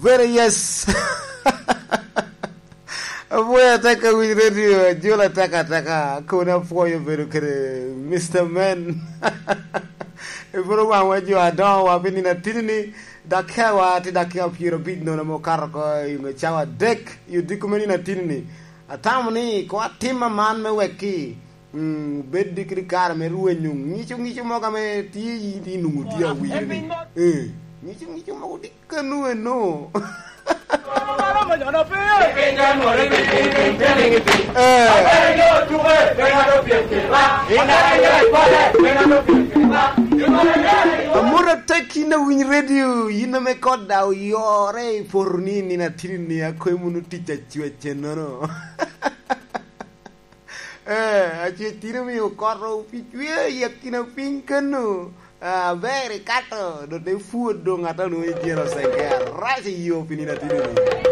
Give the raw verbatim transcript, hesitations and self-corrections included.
Very yes. Apwoyo ataka winy radio, ajola ataka ataka, kono apwoyo bedo kede Mister Man. Ibiro waŋwa jo adoŋo wa pi nino atini ni, dakika wa tye dakika pyero abic nono ame okato oko i ŋe cawa adek i odiko me nino atini ni. Atamo ni ko atim aman me wekki, mm, bed kede kare me rwenyo ŋico ŋico mogo ame tye i, i nwoŋo tye awinyo ni. Eh, ŋico ŋico mogo tye kano eno. Eh. Amut atek yin awiny radio, yin ame kot da oyore i poto ni nino atini ni akwemo nu tic acwec ennono. Eh, acwec tino omio okoto pi cwer i akina piny kano. Ah, aber ikato, dok te pwod doŋ ata onwoŋo i dyere osege arac i yo pi nino atino ni.